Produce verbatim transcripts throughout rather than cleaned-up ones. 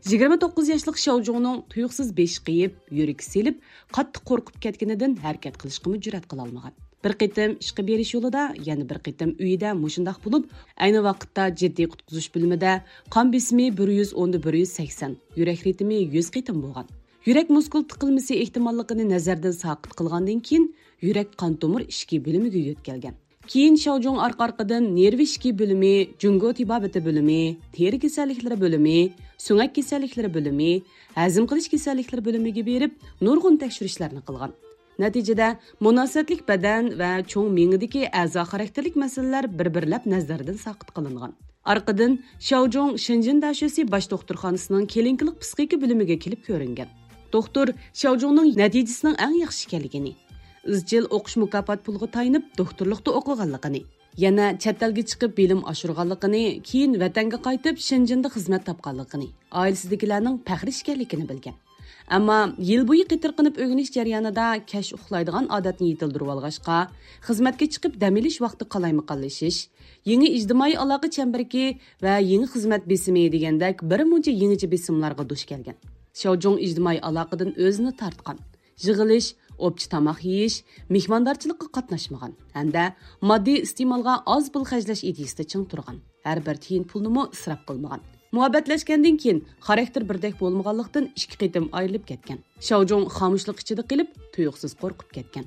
يىگىرمە توققۇز ياشلىق شاۋجۇڭنىڭ تۇيۇقسىز بېشى قېيىپ، يۈرىكى سېلىپ، قاتتىق قورقۇپ كەتكىنىدىن ھەرىكەت قىلىشقىمۇ جۈرئەت قىلالمىغان. بىر قېتىم ئىشقا بېرىش يولىدا، يەنە بىر قېتىم ئۆيىدە مۇشۇنداق بولۇپ، ئەينى ۋاقىتتا جىددىي قۇتقۇزۇش بۆلۈمىدە قان بېسىمى بىر يۈز ئوندا بىر يۈز سەكسەن، يۈرەك رىتىمى يۈز قېتىم بولغان. يۈرەك مۇسكۇل تىقىلمىسى ئېھتىماللىقىنى نەزەردىن ساقىت قىلغاندىن كېيىن، يۈرەك قان تومۇر ئىچكى بۆلۈمىگە يۆتكەلگەن. كېيىن شاۋجۇڭ ئارقا-ئارقىدىن نېرۋا ئىچكى بۆلۈمى، جۇڭگو تېبابىتى بۆلۈمى، تېرە كېسەللىكلىرى بۆلۈمى، سۆڭەك كېسەللىكلىرى بۆلۈمى، ھەزىم قىلىش كېسەللىكلىرى بۆلۈمىگە بېرىپ، نۇرغۇن تەكشۈرۈشلەرنى قىلغان. نەتىجىدە، مۇناسىۋەتلىك بەدەن ۋە چوڭ مېڭىدىكى ئەزا خاراكتېرلىك مەسىلىلەر بىر-بىرلەپ نەزەردىن ساقىت قىلىنغان. ئارقىدىن شاۋجۇڭ شېنجېن داشۆسى باش دوختۇرخانىسىنىڭ كلىنىكىلىق پسىخىكا بۆلۈمىگە كېلىپ كۆرۈنگەن. دوختۇر شاۋجۇڭنىڭ نەتىجىسىنىڭ ئەڭ ياخشى ئىكەنلىكىنى، ئىزچىل ئوقۇش مۇكاپات پۇلىغا تايىنىپ دوختۇرلۇقتا ئوقۇغانلىقىنى، يەنە چەت ئەلگە چىقىپ بىلىم ئاشۇرغانلىقىنى، كېيىن ۋەتەنگە قايتىپ شېنجېندا خىزمەت تاپقانلىقىنى، ئائىلىسىدىكىلەرنىڭ پەخرى ئىكەنلىكىنى بىلگەن. ئەمما يىل بويى قېتىرقىنىپ ئۆگىنىش جەريانىدا كەچ ئۇخلايدىغان ئادەتنى يېتىلدۈرۈۋالغاچقا، خىزمەتكە چىقىپ دەم ئېلىش ۋاقتى قالايمىقانلىشىش، يېڭى ئىجتىمائىي ئالاقە چەمبىرىكى ۋە يېڭى خىزمەت بېسىمى دېگەندەك بىر مۇنچە يېڭىچە بېسىملارغا دۇچ كەلگەن. شاۋجۇڭ ئىجتىمائىي ئالاقىدىن ئۆزىنى تارتقان. يىغىلىش، ئوپچە تاماق يېيىش، مېھماندارچىلىققا قاتناشمىغان ھەمدە ماددىي ئىستېمالغا ئاز پۇل خەجلەش ئىدىيىسىدە چىڭ تۇرغان. ھەر بىر تىيىن پۇلنىمۇ ئىسراپ قىلمىغان. مۇھەببەتلەشكەندىن كېيىن خاراكتېر بىردەك بولمىغانلىقتىن ئىككى قېتىم ئايرىلىپ كەتكەن. شاۋجۇڭ خامۇشلۇق ئىچىدە قېلىپ، تۇيۇقسىز قورقۇپ كەتكەن.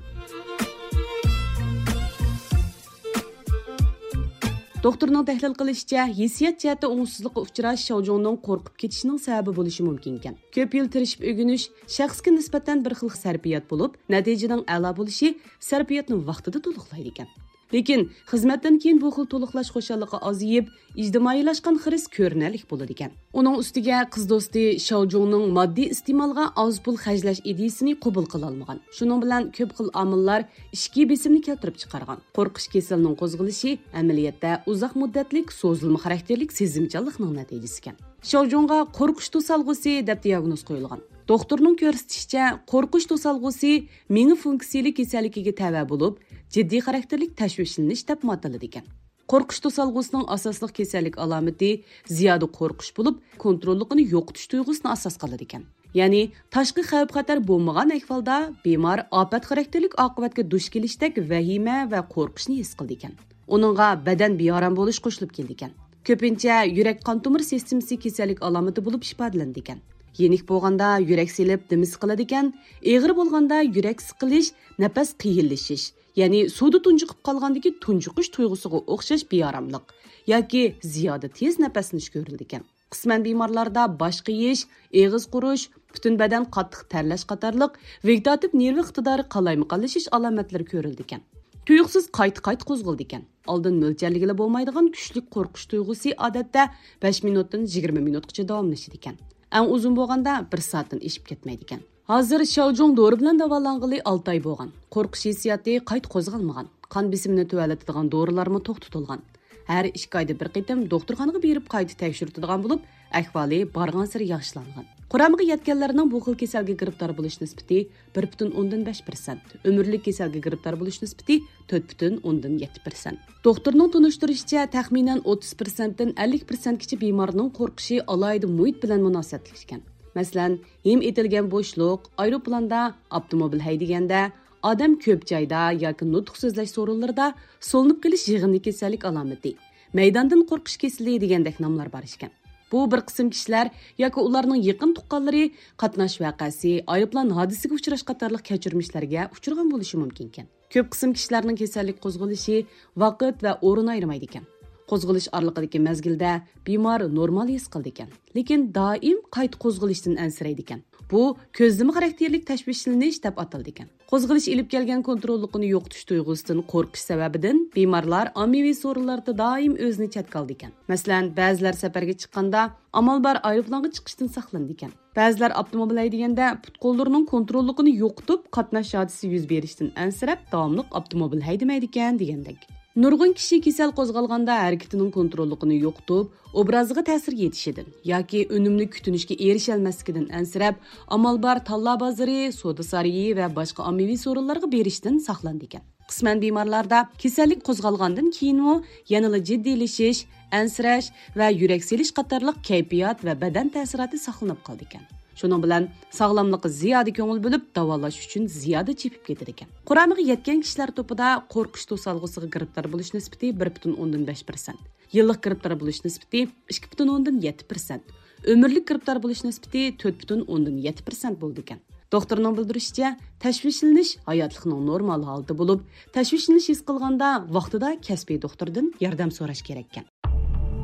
دوختۇرنىڭ تەھلىل قىلىشىچە، ھېسسىيات جەھەتتە ئوڭۇشسىزلىققا ئۇچراش شاۋجۇڭنىڭ قورقۇپ كېتىشىنىڭ سەۋەبى بولۇشى مۇمكىنكەن. كۆپ يىل تىرىشىپ ئۆگىنىش شەخسكە نىسبەتەن بىر خىل سەرپىيات بولۇپ، نەتىجىنىڭ ئەلا بولۇشى سەرپىياتنى ۋاقتىدا تولۇقلايدىكەن. لېكىن خىزمەتتىن كېيىن بۇ خىل تولۇقلاش خۇشاللىقى ئازىيىپ، ئىجتىمائىيلاشقان خىرىس كۆرۈنەرلىك بولىدىكەن. ئۇنىڭ ئۈستىگە قىز دوستى شاۋجۇڭنىڭ ماددىي ئىستېمالغا ئاز پۇل خەجلەش ئىدىيىسىنى قوبۇل قىلالمىغان. شۇنىڭ بىلەن كۆپ خىل ئامىللار ئىچكى بېسىمنى كەلتۈرۈپ چىقارغان. قورقۇش كېسىلىنىڭ قوزغىلىشى ئەمەلىيەتتە ئۇزاق مۇددەتلىك سوزۇلما خاراكتېرلىك سېزىمچانلىقنىڭ نەتىجىسىكەن. شاۋجۇڭغا قورقۇش توسالغۇسى دەپ دىياگنوز قويۇلغان. دوختۇرنىڭ كۆرسىتىشىچە، قورقۇش توسالغۇسى مېڭە فۇنكسىيىلىك كېسەللىكىگە تەۋە بولۇپ، جىددىي خاراكتېرلىك تەشۋىشلىنىش دەپمۇ ئاتىلىدىكەن. قورقۇش توسالغۇسىنىڭ ئاساسلىق كېسەللىك ئالامىتى زىيادە قورقۇش بولۇپ، كونتروللۇقىنى يوقىتىش تۇيغۇسىنى ئاساس قىلىدىكەن. يەنى تاشقى خەۋپ-خەتەر بولمىغان ئەھۋالدا بىمار ئاپەت خاراكتېرلىك ئاقىۋەتكە دۇچ كېلىشتەك ۋەھىمە ۋە قورقۇشنى ھېس قىلىدىكەن. ئۇنىڭغا بەدەن بىئارام بولۇش قوشۇلۇپ كېلىدىكەن. كۆپىنچە يۈرەك قان تومۇر سىستېمىسى كېسەللىك ئالامىتى بولۇپ ئىپادىلىنىدىكەن. يېنىك بولغاندا يۈرەك سېلىپ دېمى سىقىلىدىكەن، ئېغىر بولغاندا يۈرەك سىقىلىش، نەپەس قىيىنلىشىش، يەنى سۇدا تۇنجۇقۇپ قالغاندىكى تۇنجۇقۇش تۇيغۇسىغا ئوخشاش بىئاراملىق ياكى زىيادە تېز نەپەسلىنىش كۆرۈلىدىكەن. قىسمەن بىمارلاردا باش قېيىش، ئېغىز قۇرۇش، پۈتۈن بەدەن قاتتىق تەرلەش قاتارلىق ۋېگېتاتىپ نېرۋا ئىقتىدارى قالايمىقانلىشىش ئالامەتلىرى كۆرۈلىدىكەن. تۇيۇقسىز قايتا-قايتا قوزغىلىدىكەن. ئالدىن مۆلچەرلىگىلى بولمايدىغان كۈچلۈك قورقۇش تۇيغۇسى ئادەتتە بەش مىنۇتتىن يىگىرمە مىنۇتقىچە داۋاملىشىدىكەن. ئەڭ ئۇزۇن بولغاندا بىر سائەتتىن ئېشىپ كەتمەيدىكەن. ھازىر شاۋجۇڭ دورا بىلەن داۋالانغىلى ئالتە ئاي بولغان. قورقۇش ھېسسىياتى قايتا قوزغالمىغان. قان بېسىمىنى تۆۋەنلىتىدىغان دورىلارمۇ توختىتىلغان. ھەر ئىككى ئايدا بىر قېتىم دوختۇرخانىغا بېرىپ قايتا تەكشۈرتىدىغان بولۇپ، ئەھۋالى بارغانسېرى ياخشىلانغان. قۇرامىغا يەتكەنلەرنىڭ بۇ خىل كېسەلگە گىرىپتار بولۇش نىسبىتى بىر پۈتۈن ئوندىن بەش پىرسەنت، ئۆمۈرلۈك كېسەلگە گىرىپتار بولۇش نىسبىتى تۆت پۈتۈن ئوندىن يەتتە پىرسەنت. دوختۇرنىڭ تونۇشتۇرۇشىچە، تەخمىنەن ئوتتۇز پىرسەنتتىن ئەللىك پىرسەنتكىچە بىمارنىڭ قورقۇشى ئالاھىدە مۇھىت بىلەن مۇناسىۋەتلىك ئىكەن. مەسىلەن، ھىم ئېتىلگەن بوشلۇق، ئايروپىلاندا، ئاپتوموبىل ھەيدىگەندە، ئادەم كۆپ جايدا ياكى نۇتۇق سۆزلەش سورۇنلىرىدا سولىنىپ قېلىش يىغىندى كېسەللىك ئالامىتى، مەيداندىن قورقۇش كېسىلى دېگەندەك ناملار بار ئىكەن. بۇ بىر قىسىم كىشىلەر ياكى ئۇلارنىڭ يېقىن تۇغقانلىرى قاتناش ۋەقەسى، ئايروپىلان ھادىسىگە ئۇچراش قاتارلىق كەچۈرمىشلەرگە ئۇچرىغان بولۇشى مۇمكىنكەن. كۆپ قىسىم كىشىلەرنىڭ كېسەللىك قوزغىلىشى ۋاقىت ۋە ئورۇن ئايرىمايدىكەن. قوزغىلىش ئارىلىقىدىكى مەزگىلدە بىمار نورمال ھېس قىلىدىكەن، لېكىن دائىم قايتا قوزغىلىشتىن ئەنسىرەيدىكەن. بۇ كۆزلىمە خاراكتېرلىك تەشۋىشلىنىش دەپ ئاتىلىدىكەن. قوزغىلىش ئېلىپ كەلگەن كونتروللۇقىنى يوقىتىش تۇيغۇسىدىن قورقۇش سەۋەبىدىن بىمارلار ئاممىۋى سورۇنلاردا دائىم ئۆزىنى چەتكە ئالىدىكەن. مەسىلەن، بەزىلەر سەپەرگە چىققاندا ئامال بار ئايروپىلانغا چىقىشتىن ساقلىنىدىكەن. بەزىلەر ئاپتوموبىل ھەيدىگەندە پۇت-قوللىرىنىڭ كونتروللۇقىنى يوقىتىپ، قاتناش ھادىسىسى يۈز بېرىشتىن ئەنسىرەپ، داۋاملىق ئاپتوموبىل ھەيدىمەيدىكەن دېگەندەك. نۇرغۇن كىشى كېسەل قوزغالغاندا ھەرىكىتىنىڭ كونتروللۇقىنى يوقىتىپ، ئوبرازىغا تەسىر يېتىشىدىن ياكى ئۈنۈملۈك كۈتۈنۈشكە ئېرىشەلمەسلىكىدىن ئەنسىرەپ، ئامال بار تاللا بازىرى، سودا سارىيى ۋە باشقا ئاممىۋى سورۇنلارغا بېرىشتىن ساقلىنىدىكەن. قىسمەن بىمارلاردا كېسەللىك قوزغالغاندىن كېيىنمۇ يەنىلا جىددىيلىشىش، ئەنسىرەش ۋە يۈرەك سېلىش قاتارلىق كەيپىيات ۋە بەدەن تەسىراتى ساقلىنىپ قالىدىكەن. شۇنىڭ بىلەن ساغلاملىققا زىيادە كۆڭۈل بۆلۈپ، داۋالاش ئۈچۈن زىيادە چېپىپ كېتىدىكەن. قۇرامىغا يەتكەن كىشىلەر توپىدا قورقۇش توسالغۇسىغا گىرىپتار بولۇش نىسبىتى بىر پۈتۈن ئوندىن بەش پىرسەنت، يىللىق گىرىپتار بولۇش نىسبىتى ئىككى پۈتۈن ئوندىن يەتتە پىرسەنت، ئۆمۈرلۈك گىرىپتار بولۇش نىسبىتى تۆت پۈتۈن ئوندىن يەتتە پىرسەنت بولىدىكەن. دوختۇرنىڭ بىلدۈرۈشىچە، تەشۋىشلىنىش ھاياتلىقنىڭ نورمال ھالىتى بولۇپ، تەشۋىشلىنىش ھېس قىلغاندا ۋاقتىدا كەسپىي دوختۇردىن ياردەم سوراش كېرەككەن.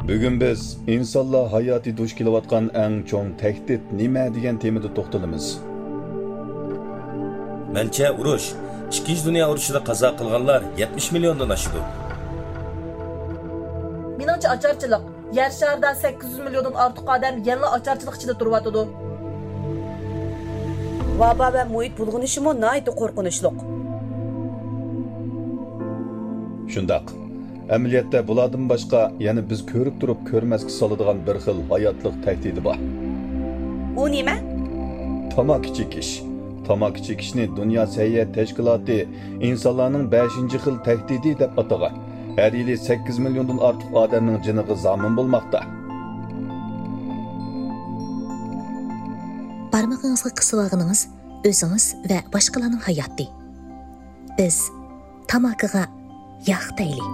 بۈگۈن بىز ئىنسانلار ھاياتى دۇچ كېلىۋاتقان ئەڭ چوڭ تەھدىت نېمە دېگەن تېمىدا توختىلىمىز. مەنچە، ئۇرۇش، ئىككىنچى دۇنيا ئۇرۇشىدا قازا قىلغانلار يەتمىش مىليوندىن ئاشىدۇ. مېنىڭچە، ئاچارچىلىق. يەر شارىدا سەككىز يۈز مىليوندىن ئارتۇق ئادەم يەنىلا ئاچارچىلىق ئىچىدە تۇرۇۋاتىدۇ. ۋابا ۋە مۇھىت بۇلغىنىشىمۇ ناھايىتى قورقۇنچلۇق. شۇنداق. ئەمەلىيەتتە بۇلاردىن باشقا يەنە بىز كۆرۈپ تۇرۇپ كۆرمەسكە سالىدىغان بىر خىل ھاياتلىق تەھدىتى بار. ئۇ نېمە؟ تاماكا چېكىش. تاماكا چېكىشنى دۇنيا سەھىيە تەشكىلاتى ئىنسانلارنىڭ بەشىنچى خىل تەھدىتى دەپ ئاتىغان. ھەر يىلى سەككىز مىليوندىن ئارتۇق ئادەمنىڭ جېنىغا زامىن بولماقتا. بارمىقىڭىزغا قىسىۋالغىنىڭىز ئۆزىڭىز ۋە باشقىلارنىڭ ھاياتى. بىز تاماكىغا ياق دەيلى.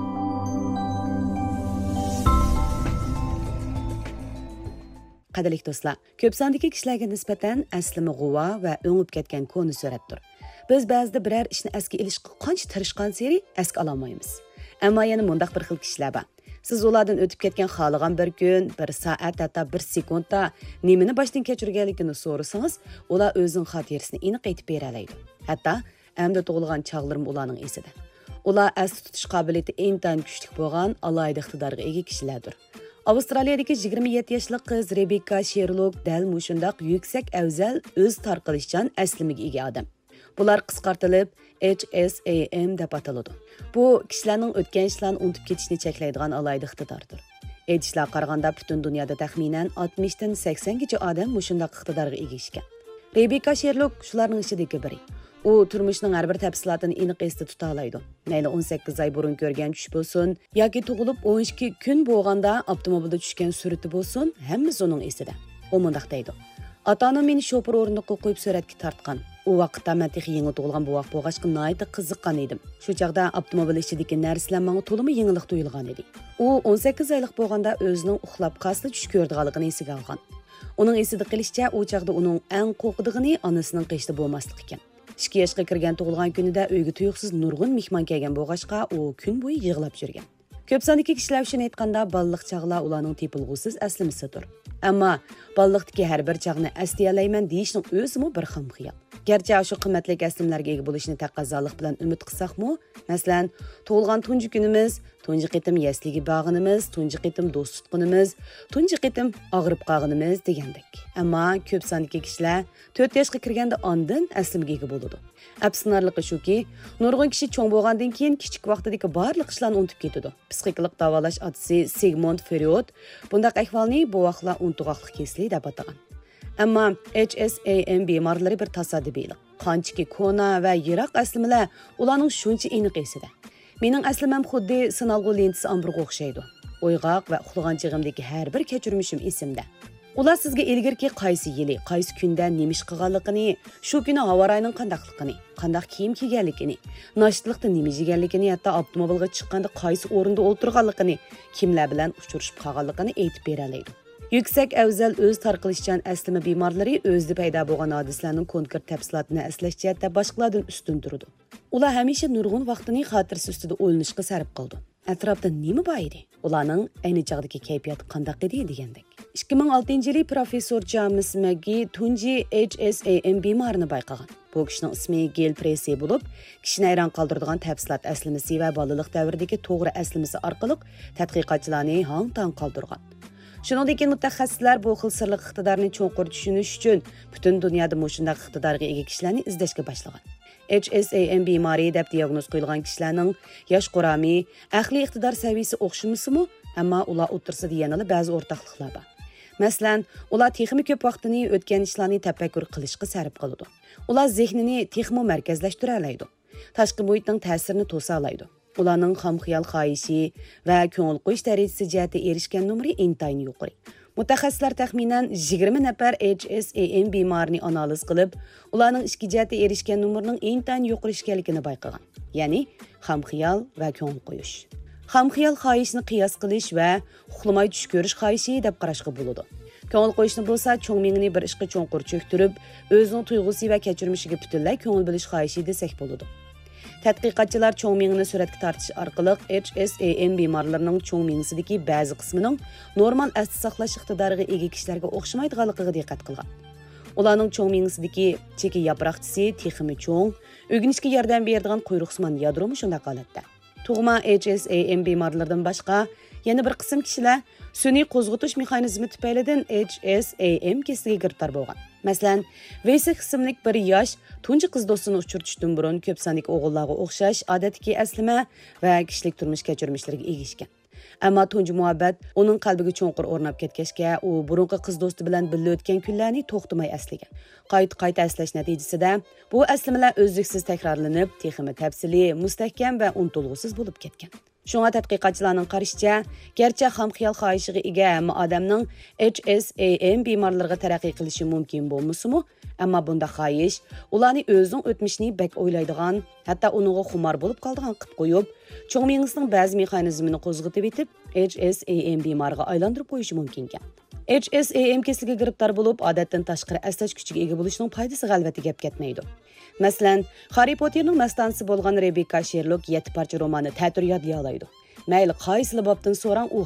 قەدىرلىك دوستلار، كۆپ ساندىكى كىشىلەرگە نىسبەتەن ئەسلىمە غۇۋا ۋە ئۆڭۈپ كەتكەن كونا سۈرەتتۇر. بىز بەزىدە بىرەر ئىشنى ئەسكە ئېلىشقا قانچە تىرىشقانسېرى ئەسكە ئالالمايمىز. ئەمما يەنە مۇنداق بىر خىل كىشىلەر بار. سىز ئۇلاردىن ئۆتۈپ كەتكەن خالىغان بىر كۈن، بىر سائەت، ھەتتا بىر سېكۇنتتا نېمىنى باشتىن كەچۈرگەنلىكىنى سورىسىڭىز، ئۇلار ئۆزىنىڭ خاتىرىسىنى ئېنىق ئېيتىپ بېرەلەيدۇ. ھەتتا ئەمدى تۇغۇلغان چاغلىرىمۇ ئۇلارنىڭ ئېسىدە. ئۇلار ئەستە تۇتۇش قابىلىيىتى ئىنتايىن كۈچلۈك بولغان ئالاھىدە ئىقتىدارغا ئىگە كىشىلەردۇر. ئاۋسترالىيەدىكى يىگىرمە يەتتە ياشلىق قىز رېبېككا شېرلوك دەل مۇشۇنداق يۈكسەك ئەۋزەل، ئۆز تارقىلىشچان ئەسلىمىگە ئىگە ئادەم. بۇلار قىسقارتىلىپ، ئېچ ئېس ئەي ئېم دەپ ئاتىلىدۇ. بۇ كىشىلەرنىڭ ئۆتكەن ئىشلارنى ئۇنتۇپ كېتىشنى چەكلەيدىغان ئالاھىدە ئىقتىداردۇر. ئېيتىشلارغا قارىغاندا، پۈتۈن دۇنيادا تەخمىنەن ئاتمىشتىن سەكسەنگىچە ئادەم مۇشۇنداق ئىقتىدارغا ئىگە ئىكەن. رېبېككا شېرلوك شۇلارنىڭ ئىچىدىكى بىرى. ئۇ تۇرمۇشنىڭ ھەر بىر تەپسىلاتىنى ئېنىق ئېستە تۇتالايدۇ. مەيلى ئون سەككىز ئاي بۇرۇن كۆرگەن چۈش بولسۇن، ياكى تۇغۇلۇپ ئون ئىككى كۈن بولغاندا ئاپتوموبىلدا چۈشكەن سۈرىتى بولسۇن، ھەممىسى ئۇنىڭ ئېسىدە. ئۇ مۇنداق دەيدۇ: «ئاتا-ئانام مېنى شوپۇر ئورنىقىغا قويۇپ سۈرەتكە تارتقان. ئۇ ۋاقىتتا مەن تېخى يېڭى تۇغۇلغان بوۋاق بولغاچقا ناھايىتى قىزىققان ئىدىم. شۇ چاغدا ئاپتوموبىل ئىچىدىكى نەرسىلەر ماڭا تولىمۇ يېڭىلىق تۇيۇلغان ئىدى.» ئۇ ئون سەككىز ئايلىق بولغاندا ئۆزىنىڭ ئۇخلاپ قالسىلا چۈش كۆرىدىغانلىقىنى ئېسىگە ئالغان. ئۇنىڭ ئېسىدە قېلىشىچە، ئۇ چاغدا ئۇنىڭ ئەڭ قورقىدىغىنى ئانىسىنىڭ قېشىدا بولماسلىق ئىكەن. ئىككى ياشقا كىرگەن تۇغۇلغان كۈنىدە ئۆيگە تۇيۇقسىز نۇرغۇن مېھمان كەلگەن بولغاچقا، ئۇ كۈن بويى يىغلاپ يۈرگەن. كۆپ ساندىكى كىشىلەر ئۈچۈن ئېيتقاندا، بالىلىق چاغلار ئۇلارنىڭ تېپىلغۇسىز ئەسلىمىسىدۇر. ئەمما بالىلىقتىكى ھەر بىر چاغنى ئەسلىيەلەيمەن دېيىشنىڭ ئۆزىمۇ بىر خام خىيال. گەرچە ئاشۇ قىممەتلىك ئەسلىمىلەرگە ئىگە بولۇشنى تەقەززالىق بىلەن ئۈمىد قىلساقمۇ، مەسىلەن، تۇغۇلغان تۇنجى كۈنىمىز، تۇنجى قېتىم يەسلىگە بارغىنىمىز، تۇنجى قېتىم دوست تۇتقىنىمىز، تۇنجى قېتىم ئاغرىپ قالغىنىمىز دېگەندەك. ئەمما كۆپ ساندىكى كىشىلەر تۆت ياشقا كىرگەندە ئاندىن ئەسلىمىگە ئىگە بولىدۇ. ئەپسۇسلىنارلىقى شۇكى، نۇرغۇن كىشى چوڭ بولغاندىن كېيىن كىچىك ۋاقتىدىكى بارلىق ئىشلارنى ئۇنتۇپ كېتىدۇ. پسىخىكىلىق داۋالاش ئاتىسى سىگموند فرېيود بۇنداق ئەھۋالنى بوۋاقلار ئۇنتۇغاقلىق كېسىلى دەپ ئاتىغان. ئەمما ئېچ ئېس ئەي ئېم بىمارلىرى بىر تاسادىپىيلىق. قانچىكى كونا ۋە يىراق ئەسلىمىلەر ئۇلارنىڭ شۇنچە ئېنىق ئېسىدە. مېنىڭ ئەسلىمەم خۇددى سىنالغۇ لېنتىسى ئامبىرىغا ئوخشايدۇ. ئويغاق ۋە ئۇخلىغان چېغىمدىكى ھەر بىر كەچۈرمىشىم ئېسىمدە. ئۇلار سىزگە ئىلگىرىكى قايسى يىلى، قايسى كۈندە نېمە ئىش قىلغانلىقىنى، شۇ كۈنى ھاۋا رايىنىڭ قانداقلىقىنى، قانداق كىيىم كىيگەنلىكىنى، ناشتىلىقتا نېمە يېگەنلىكىنى، ھەتتا ئاپتوموبىلغا چىققاندا قايسى ئورۇندا ئولتۇرغانلىقىنى، كىملەر بىلەن ئۇچرىشىپ قالغانلىقىنى ئېيتىپ بېرەلەيدۇ. يۈكسەك ئەۋزەل ئۆز تارقىلىشچان ئەسلىمە بىمارلىرى ئۆزىدە پەيدا بولغان ھادىسىلەرنىڭ كونكرېت تەپسىلاتىنى ئەسلەش جەھەتتە باشقىلاردىن ئۈستۈن تۇرىدۇ. ئۇلار ھەمىشە نۇرغۇن ۋاقتىنى خاتىرىسى ئۈستىدە ئويلىنىشقا سەرپ قىلىدۇ. ئەتراپتا نېمە بار ئىدى؟ ئۇلارنىڭ ئەينى چاغدىكى كەيپىياتى قانداق ئىدى دېگەندەك. ئىككى مىڭ ئالتىنچى يىلى پروفېسسور جامېس مەگگى تۇنجى ئېچ ئېس ئەي ئېم بىمارىنى بايقىغان. بۇ كىشىنىڭ ئىسمى گېل پرېسسى بولۇپ، كىشىنى ھەيران قالدۇرىدىغان تەپسىلات ئەسلىمىسى ۋە بالىلىق دەۋرىدىكى توغرا ئەسلىمىسى ئارقىلىق تەتقىقاتچىلارنى ھاڭ-تاڭ قالدۇرغان. شۇنىڭدىن كېيىن مۇتەخەسسىسلەر بۇ خىل سىرلىق ئىقتىدارنى چوڭقۇر چۈشىنىش ئۈچۈن پۈتۈن دۇنيادا مۇشۇنداق ئىقتىدارغا ئىگە كىشىلەرنى ئىزدەشكە باشلىغان. ئېچ ئېس ئەي ئېم بىمارى دەپ دىياگنوز قويۇلغان كىشىلەرنىڭ ياش قۇرامى، ئەقلىي ئىقتىدار سەۋىيىسى ئوخشىمىسىمۇ، ئەمما ئۇلار ئوتتۇرىسىدا يەنىلا بەزى ئورتاقلىقلار بار. مەسىلەن، ئۇلار تېخىمۇ كۆپ ۋاقتىنى ئۆتكەن ئىشلارنى تەپەككۇر قىلىشقا سەرپ قىلىدۇ. ئۇلار زېھنىنى تېخىمۇ مەركەزلەشتۈرەلەيدۇ. تاشقى مۇھىتنىڭ تەسىرىنى توسالايدۇ. ئۇلارنىڭ خام خىيال خاھىشى ۋە كۆڭۈل قويۇش دەرىجىسى جەھەتتە ئېرىشكەن نومۇرى ئىنتايىن يۇقىرى. مۇتەخەسسىسلەر تەخمىنەن يىگىرمە نەپەر H S A M بىمارىنى ئانالىز قىلىپ، ئۇلارنىڭ ئىچكى جەھەتتە ئېرىشكەن نومۇرىنىڭ ئىنتايىن يۇقىرى ئىكەنلىكىنى بايقىغان. يەنى خام خىيال ۋە كۆڭۈل قويۇش. خام خىيال خاھىشنى قىياس قىلىش ۋە ئۇخلىماي چۈش كۆرۈش خاھىشى دەپ قاراشقا بولىدۇ. كۆڭۈل قويۇشنى بولسا چوڭ مېڭىنى بىر ئىشقا چوڭقۇر چۆكتۈرۈپ، ئۆزىنىڭ تۇيغۇسى ۋە كەچۈرمىشىگە پۈتۈنلەي كۆڭۈل بۆلۈش خاھىشى دېسەك بولىدۇ. تەتقىقاتچىلار چوڭ مېڭىنى سۈرەتكە تارتىش ئارقىلىق H S A M بىمارلىرىنىڭ چوڭ مېڭىسىدىكى بەزى قىسمىنىڭ نورمال ئەستە ساقلاش ئىقتىدارىغا ئىگە كىشىلەرگە ئوخشىمايدىغانلىقىغا دىققەت قىلغان. ئۇلارنىڭ چوڭ مېڭىسىدىكى چېكە ياپراقچىسى تېخىمۇ چوڭ، ئۆگىنىشكە ياردەم بېرىدىغان قۇيرۇقسىمان يادرومۇ شۇنداق ھالەتتە. تۇغما H S A M بىمارلىرىدىن باشقا، يەنە بىر قىسىم كىشىلەر سۈنئىي قوزغىتىش مېخانىزمى تۈپەيلىدىن H S A M كېسىلىگە گىرىپتار بولغان. مەسىلەن، ۋېيسېك ئىسىملىك بىر ياش تۇنجى قىز دوستىنى ئۇچرىتىشتىن بۇرۇن كۆپ ساندىكى ئوغۇللارغا ئوخشاش ئادەتتىكى ئەسلىمە ۋە كىشىلىك تۇرمۇش كەچۈرمىشلىرىگە ئىگە ئىكەن. ئەمما تۇنجى مۇھەببەت ئۇنىڭ قەلبىگە چوڭقۇر ئورناپ كەتكەچكە، ئۇ بۇرۇنقى قىز دوستى بىلەن بىللە ئۆتكەن كۈنلەرنى توختىماي ئەسلىگەن. قايتا-قايتا ئەسلەش نەتىجىسىدە، بۇ ئەسلىمىلەر ئۈزلۈكسىز تەكرارلىنىپ، تېخىمۇ تەپسىلىي، مۇستەھكەم ۋە ئۇنتۇلغۇسىز بولۇپ كەتكەن. شۇڭا تەتقىقاتچىلارنىڭ قارىشىچە، گەرچە خام خىيال خاھىشىغا ئىگە ھەممە ئادەمنىڭ H S A M بىمارلىرىغا تەرەققىي قىلىشى مۇمكىن بولمىسىمۇ، ئەمما بۇنداق خاھىش ئۇلارنى ئۆزىنىڭ ئۆتمۈشىنى بەك ئويلايدىغان، ھەتتا ئۇنىڭغا خۇمار بولۇپ قالىدىغان قىلىپ قويۇپ، چوڭ مېڭىسىنىڭ بەزى مېخانىزمىنى قوزغىتىۋېتىپ، H S A M بىمارىغا ئايلاندۇرۇپ قويۇشى مۇمكىنكەن. H S A M كېسىلىگە گىرىپتار بولۇپ، ئادەتتىن تاشقىرى ئەسلەش كۈچىگە ئىگە بولۇشنىڭ پايدىسىغا ئەلۋەتتە گەپ كەتمەيدۇ. مەسىلەن، خاررى پوتتېرنىڭ مەستانىسى بولغان رېبېككا شېرلوك يەتتە پارچە روماننى تەتۈر يادلىيالايدۇ. مەيلى قايسىلا بابتىن سوراڭ، ئۇ